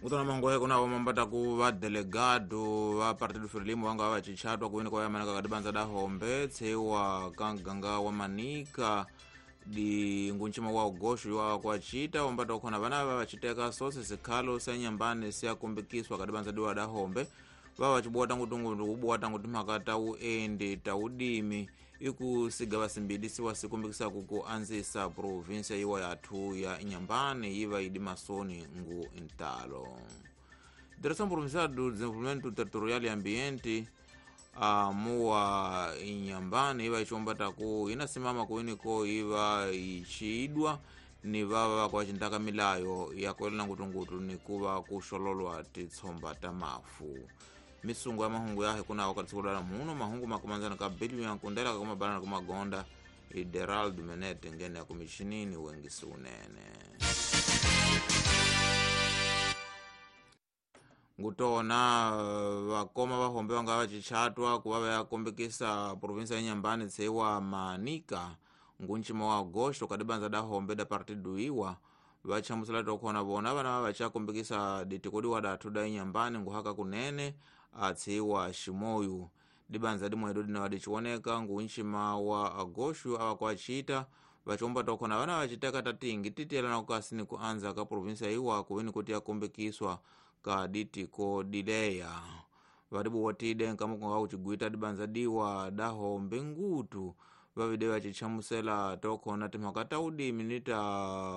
Kutona mangohe kuna wamambata ku va delegado va Partido Frelimo vanga va chichatwa kuwini kwa yamanaka kadibanza da hombe tsewa kanganga wa manika di ngunchima wa ugosho wa kwachita wambata ukhona vana va vachiteka sose sikhalo sa nyambani siyakumbikiswa kadibanza diwa da hombe va vachibuwa ngutungu kubuwa tangu timhaka ta uendi ta udimi ikusiga vasimbidi siwa sikumbikisa ku anzisa provinsia yiwa yathu ya Inhambane yiva idi masoni ngu intalo. Direção Provincial do Desenvolvimento Territorial e Ambiente muwa Inhambane iva ichombata ku inasimama kuiniko iva ichiidwa ni vava kwa chintaka milayo yakuelela ngutungutu ni kuva kuxololwa titsomba ta mafu. Misungu ya mahungu yahe kuna wakati sikulala muno mahungu makumanzana ka biliu ya nkundela kakumabalana kumagonda Ideraldo Menete ngene ya kumichinini wengisi unene. Ngutona vakoma vahombe vanga vachichatwa kuva vayakombekisa provinsia ya Inhambane tsewa Manika ngunchima wa agosto kadibanza da hombe da partido iwa vachamusela tokhona vona vana vachakombekisa ditikodiwa dathu da Inhambane nguhaka kunene atsiwa Shimoyu dibanza dimwedo dina wadichioneka ngunchima wa agosto awakwachita vachomba tokhona vana vachiteka tatingi titielana kukasini kuanza ka provinsia iwa kuweni kuti yakombekiswa ka ditiko dileya vadibuwatide nkamukonga kuchigwita dibanza diwa dahombe ngutu vavide vachichamusela tokhona timhaka ta udimi ni ta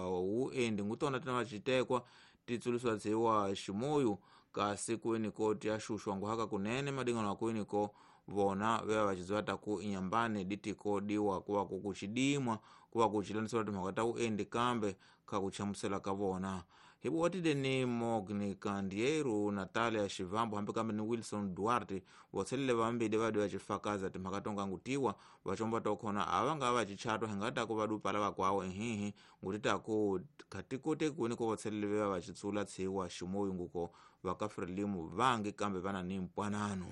uendi ngutona tina vachitekwa titsuliswa tsiwa Shimoyu kasi kuweniko tiyaxuxwa nguhaka kunene madingano akuweniko vona veva vachidziwa taku Inhambane ditiko diwa kuva kukuchidimwa kuva kuchilanisiwa timhaka ta uendi kambe kakuchamusela ka vona. Hibuwatide ni Mogni Kandieru, Natalia Shivambo hambi kambe ni Wilson Duarte votselele vambili vadi vachifakaza timhaka tongangutiwa vachomba tokhona avanga vachichatwa hingataku vadupala vakwawo ehihi ngutitaku khatikote kuweniko votselele veva vachitsula tsiwa Shimoyu nguko vaka Frelimo vangi kambe vana ni mpwanano.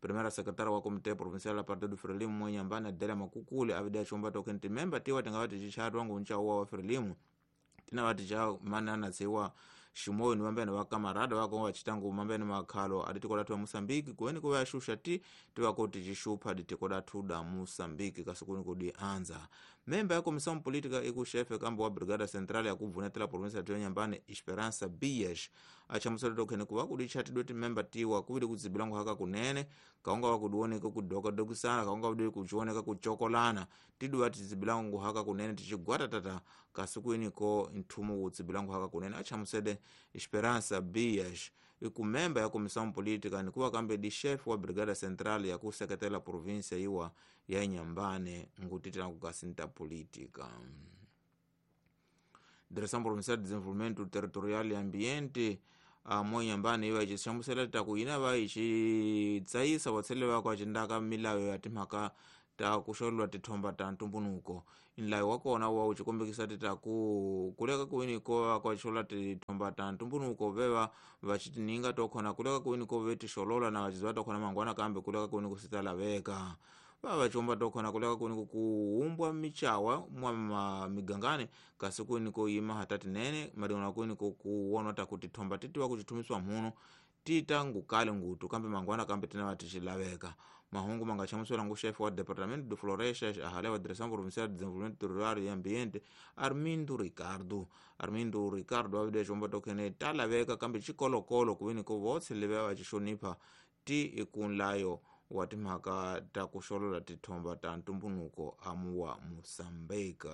Primeira secretária wa Comitê Provincial da Partido Frelimo Inhambane Adélia Makukule avide achomba tokheni timemba tiwa tingava tichichatwa ngunchawa wa Frelimo tina vati cha manana tsiwa Shimoyu ni vambene va kamarada vako vachitangu mambene makhalo aditiko dathu ya Moçambique kuweni kuva yaxuxa ti tivako tichixupha ditiko dathu da Moçambique kasi kuni kudi anza. Memba ya Comissão Política ikuxefe kambe wa Brigada Central ya kubvunetela província yathu ya Inhambane Esperança Bias achamusela tokheni kuva kudichatidwe timemba tiwa kuvili kudzibilangu haka kunene kaunga vakudioneka kudokadokisana kaunga vudi kuchioneka kuchokolana tiduva tidzibilangu haka kunene tichigwatatata kasi kuiniko nthumu wudzibilangu haka kunene achamusele Esperança Bias ikumemba ya Comissão Política nikuva kambe di chefe wa Brigada Central ya kuseketela província iwa ya Inhambane ngutitela kukasinta política. Direção Provincial de Desenvolvimento Territorial e Ambiente mo Inhambane iva ichichamusela taku ina va ichitsayisa vatselele vakwa cindaka milayo ya timhaka ta kuxololwa tithomba ta ntumbunuko. Nlayo wa kona wa uchikombekisa titaku kuleka kuwiniko vakwaxolola tithomba ta ntumbunuko veva vachitininga tokhona kuleka kuwiniko vetixolola na vachidziva tokhona mangwana kambe kuleka kuwiniko sitalaveka va vachomba tokhona kuleka kuwiniko kuumbwa michawa mwa migangani kasi kuwiniko yima hata tinene madingano kuwiniko kuwonwa taku tithomba titiwa kuchithumiswa mhuno tita ngukale ngutu kambe mangwana kambe tina vatixilaveka. Mahungu mangachamusela ngu chefe wa Departamento de Florestas ahale wa Direção Provincial de Desenvolvimento Rural e Ambiente Armindo Ricardo. Armindo Ricardo avide chomba tokhene talaveka kambe chikolokolo kuweniko votse leve vachixonipha ti ikunlayo wa timhaka ta kuxolola tithomba ta ntumbunuko amuwa Moçambique.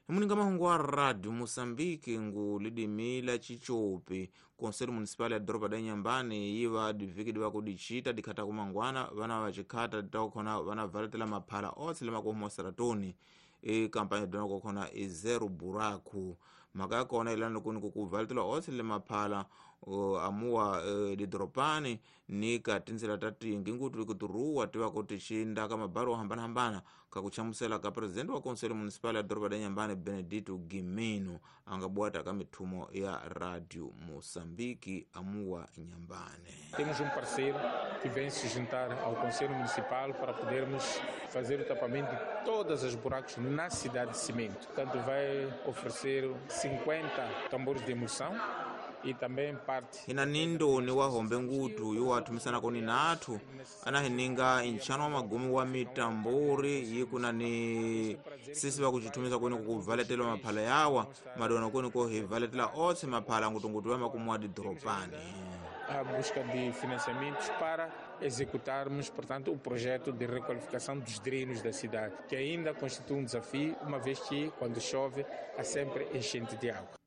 Muninga mahungu wa Radio Moçambique ngu lidimila chichopi Conselho Municipal ya Doroba da Inhambane yiva diviki diva kudichita dikhata kumangwana vana vachikhata takukhona vana valetela maphala otse lemakuhuma saratoni ikampanya dona kokhona i zero buraku mhaka ya kona ilani kuni kukuvaletela otse lemaphala amuwa didoropani ni ka tindzela ta tingi ngutu kuturuwa tiva kuti xinda ka mabaro hambanahambana ka kuchamusela ka presidente wa Conselho Municipal ya Doroba da Inhambane Benedito Gimino anga bwata ka mithumo ya Radio Moçambique amuwa Inhambane. Temos parceiro que vem se juntar ao Conselho Municipal para podermos fazer o tapamento de todas as buracos na cidade de Cimento. Portanto, vai oferecer 50 tambores de emulsão e também parte Hina nindoni wa hombe ngutu yuwathumisana koni nathu anahininga intchano wa magumi wa mitamburi yikuna ni sisi vakucithumisa kweni kukuvaletelwa maphala yawa madona kweni kohivaletela otse maphala ngutungutu ya makumu wa didoropani. A busca de financiamentos para executarmos, portanto, o projeto de requalificação dos drenos da cidade, que ainda constitui um desafio, uma vez que, quando chove, há sempre enchente de água.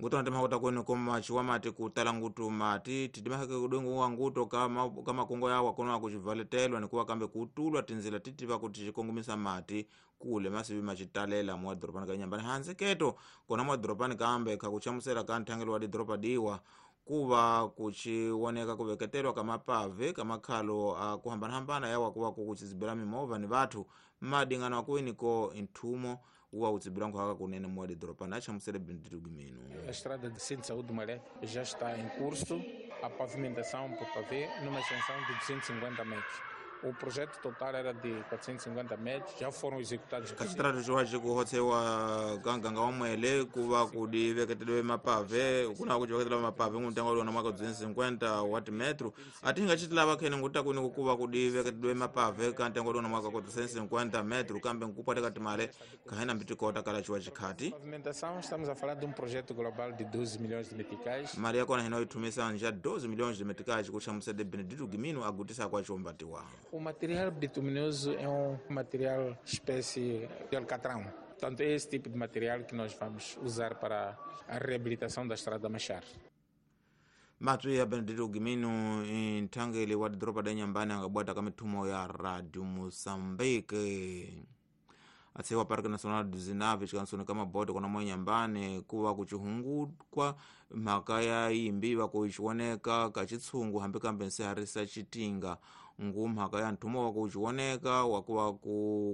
Ngutu antimakuta kweni komaciwa mati kutala ngutu mati tidimaheke kudongo wa nguto kama makongo yawa kono akucivaletelwa nikuwa kambe kutulwa tinzila titiva kuti cikongomisa mati kule masivi macitalela mwadhoropani ka Inyambani hansi keto kona mwadhoropani kambe khakuchamusela ka nthangelo wa didoropa diwa kuva kuciwoneka kuveketelwa ka mapave ka makhalo a kuhambanahambana yawa kuva kukucizibela mimovha ni vathu madingano akuweniko nthumo wa utsibila nkhwaka kunene muwa didoropa achamusele Benedito Gimeno. A estrada de Centro de Saúde do Maré já está em curso, a pavimentação por pavê numa extensão de 250 metros. O projeto total era de 450 metros, já foram executados. Kaxitrato ciwa cikuhotsewa ka nganga wa mwele kuva kudi veketelwe mapave kuna kuciveketelwa mapave nguntengo uliona mwaka 250 wa timetro atinga citilava khene nguta kuni kukuva kudi veketelwe mapave ka ntengo uliona mwaka 450 metro kambe nkupwateka timale kahena mbitikota kala ciwa cikhati. Pavimentação, estamos a falar de um projeto global de 12 milhões de meticais. Mali yakona hina ithumisa nja 12 milhões de meticais kuchamusede Benedito Gimino agutisa kwa ciombatiwa. O material bituminoso é um material espécie de alcatrão. Portanto, é esse tipo de material que nós vamos usar para a reabilitação da Estrada Machar. Matwi ya Benedito Gimino nthangeli wa didoropa da Inyambani angabwata ka mithumo ya Radio Moçambique. Atsewa Parque Nacional do Zinave cikansoni ka mabote kona mwa Inyambani kuva kucihungukwa mhaka ya yimbi vakuicioneka ka citshungu hambi kambe nsiharisa citinga ngu mhaka ya nthumo wa kucioneka wakuva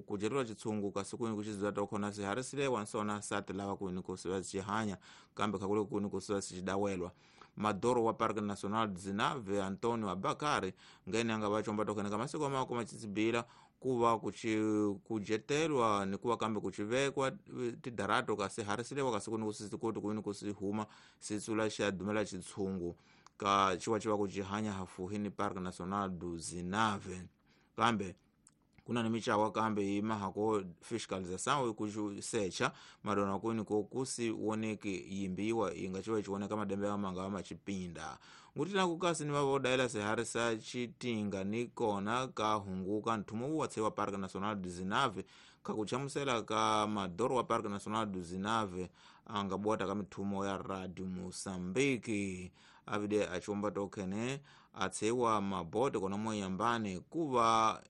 kudyeriwa citshungu kasi kwini kuciziva tokhona siharisilewa nsona sati lava kwini kusiva cihanya kambe khakule kwini kusiva sicidawelwa. Madoro wa Parque Nacional do Zinave Antonio Abakari ngene anga vacomba tokhene ka masiku amako macitsibila kuva kujetelwa nikuva kambe kucivekwa tidarato kasi harisilewa kasi kuni kusisikuti kwini kusihuma sitsula xa dumela citshungu ka ciwa kucihanya hafuhi ni Parque Nacional do Zinave kambe kuna ni micawa kambe yimahako fiscalização ikusecha madona kuni kokusi woneki yimbiwa inga ciwa cioneka madembe amanga amacipinda ngutina kukasi ni vavodaela siharisa citinga ni kona kahunguka nthumo watsewa Parque Nacional do Zinave kakuchamusela ka madoro wa Parque Nacional do Zinave angabwata ka mithumo ya Radio Moçambique avide aciomba tokhene atsewa mabote kona mwanyambani kuva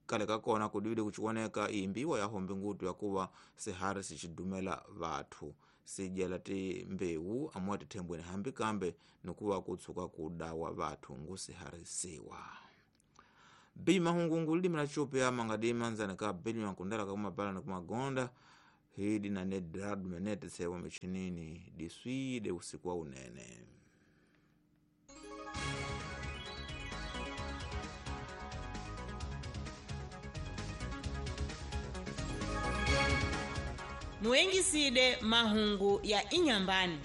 kale kakona kudivide kuchioneka imbiwa ya hombe ngutu yakuva sihari sicidumela vathu sidyela timbewu amuwa tithembweni hambi kambe nikuva kutsuka kudawa vathu ngusiharisiwa. Bima hungungu lilimi la Ethiopia mangadi manzana ka bili mankundala kakumabala na kumagonda hidi na nedrad menete sewa michinini diswide usiku wa unene. Muengiside mahungu ya Inyambani.